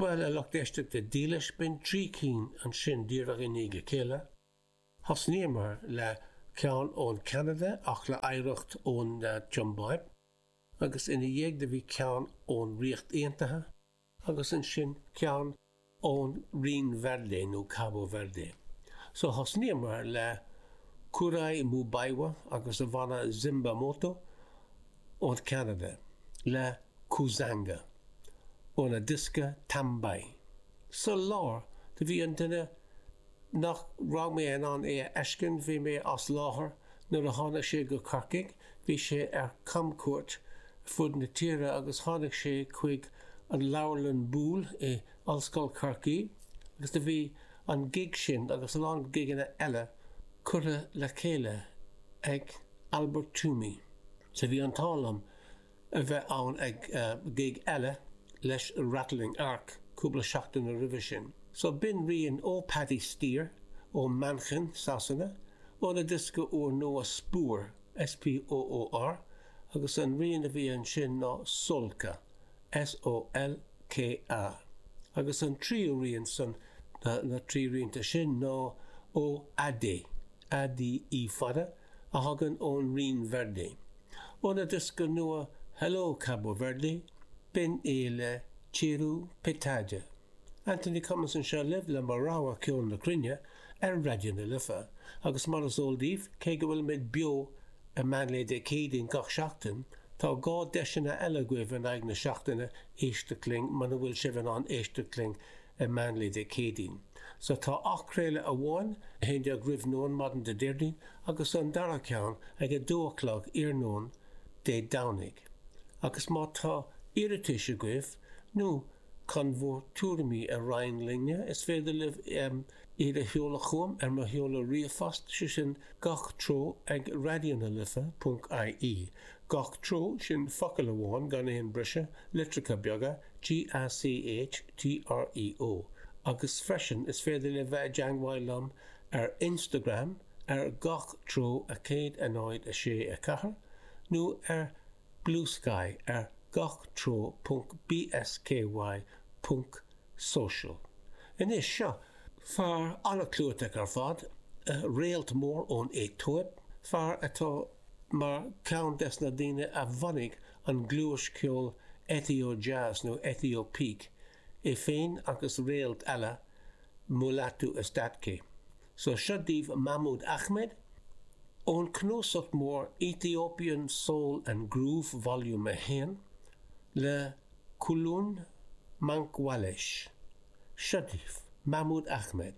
Bhuel, a lucht éisteachta dílis, b'in 3 cinn ansin díreach i ndiaidh a chéile. Thosnaíomar le ceann ón Cheanada ach le hoidhreacht ón tSiombáib, agus ina dhiaidh do bhí ceann ón Ríocht Aontaithe, agus ansin ceann ón Rinn Verde nó Cabo Verde. So thosnaíomar le Kurai Mubaiwa agus a bhanna Zimba Moto ón Cheanada le Kuzanga óna diosca Tambai. Sa lár do bhí an duine nach raibh mé in ann é a fheiscint, bhí mé as láthair nuair a tháinig sé go Corcaigh, bhí sé ar camchuairt fud na tíre agus tháinig sé chuig an Leabharlann Boole i Ollscoil Chorcaí agus do bhí an gig sin agus a lán gigeanna eile curtha le chéile ag Albert Toomey. So bhí an t-ádh liom a bheith ann ag gig eile leis Rattling Ark cúpla seachtain roimhe sin. So b'in rian ó Paddy Steer ó Manchain, Sasana, óna diosca úr nua Spoor, S-P-O-O-R, agus an rian a bhí ansin ná Solka, S-O-L-K-A. Agus an tríú rian san na trí rianta sin ná ó Ade, A-D-E fada, a thagann ón Rinn Verde. Óna diosca nua Hello Cabo Verde, b'in é le Tiro Pitada. Anthony Cummins anseo libh le mo rogha ceol na cruinne ar Raidió na Life. Agus mar is eol daoibh, cé go bhfuilimid beo ar meánlae Dé Céadaoin gach seachtain, tá 2 deiseanna eile agaibh in aghaidh na seachtaine éisteacht linn muna bhfuil sibh in ann éisteacht linn ar meánlae Dé Céadaoin. So tá athchraoladh amháin, 11 roimh nóin maidin Dé Déardaoin agus an dara ceann ag 2 a chlog iarnóin Dé Domhnaigh. Agus má tá iarratais agaibh nó chun bhur tuairimí a roinnt linne, is féidir libh iad a sheoladh chugam ar mo sheoladh ríomhphost, sé sin gach treo ag raidionalife ponc ie. Gach treo, sin focal amháin gan aon briseadh, litreacha beaga, G-A-C-H T-R-E-O. Agus freisin is féidir libh bheith i dteangmháil liom ar Instagram ar gach treo 1 0 6 4 nó ar Bluesky ar gach treo ponc bsky ponc social. Anois, seo fear an-chlúiteach ar fad, réalt mór ón Aetóip, fear atá mar cheann des na daoine a bhunaigh an ghluais ceoil Ethio-jazz nó Ethio-peak, é féin agus réalt eile, Mulatu Astatke. So seo daoibh Mahmoud Ahmed, ón cnuasach mór Ethiopian Soul and Groove Volume 1, le Kulun Mankwalesh. Seo daoibh Mahmoud Ahmed.